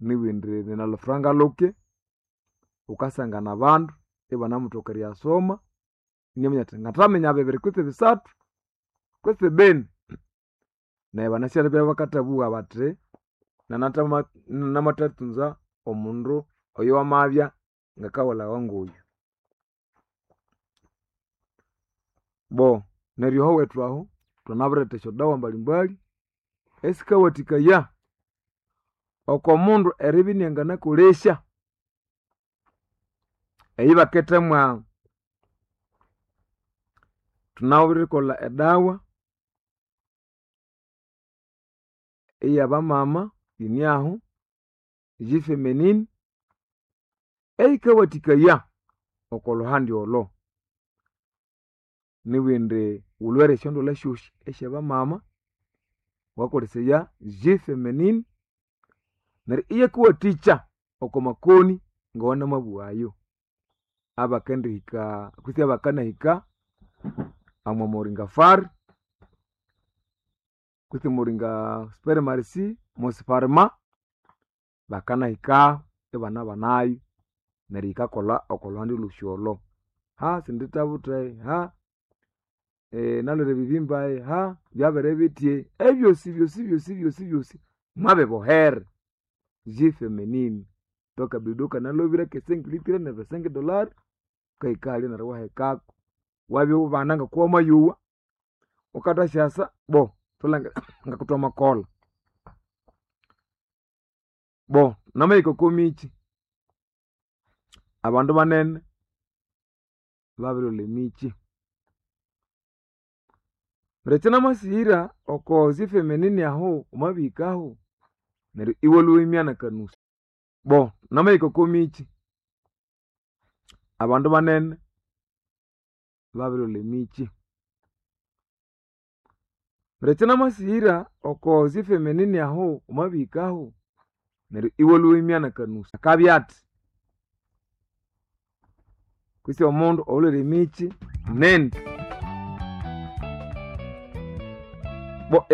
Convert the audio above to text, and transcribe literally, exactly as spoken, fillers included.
Nibindi ninalufuranga luke wukasangana abandu ibanamuthoka eriyasoma inaminya athi ngathaminya bibiri kwitsi bisathu kwitsi bini. Neryo banasya bakathabugha bathi namathathunza omundu oyo wamabya ngakawulhawa ngoyu. Bo neryo ahowethu ahu thwamabiretha esyodawa mbalimbali esikawathikaya oko mundu eribya inanganakolesya eyibakithemwa thunawirikolha edawa eyabamama yiniahu G-feminine eyikawathikaya oko lhuhandi olho. Nibindi wulhwere esyondwalha syosi esyabamama wukakolesaya G-feminine neryo iyakuwathikya oko makoni ngawanamabugha ayo abakendihika kwitsi abakanahika omo muringa fari kwitsi muringa supermarcy musifarima bakanahikahu ibanabanayo neryo yikakolha oko lhuhandi lhosi olho. Ha sindithabutha ha nalhwere ebibimba ha byabere bithya ebyosi byosi byosi byosi byosi mwabibohere G-feminine thwakabido kanalhobire ke cinq litre ne cinq dollar wukahika halya neryo iwahekako wabya iwubana ngokuwamayowa wukathasyasa bo thulangire ngakuthwamakolha. Bo namahika oko mikyi abandu banene babirilhwalha emikyi. Neryo ekyanamasihira oko G-feminine ahu wamabihikahu neryo iwalhwa iwimya nakanusu. Bo namahika oko mikyi abandu banene babirilhwalha emikyi. Neryo ekyanamasihira oko G-feminine ahu wamabihikahu neryo iwalhwa iwimya nakanusu akabya athi kwitsi omundu oyulhwere emikyi nindi. Bo.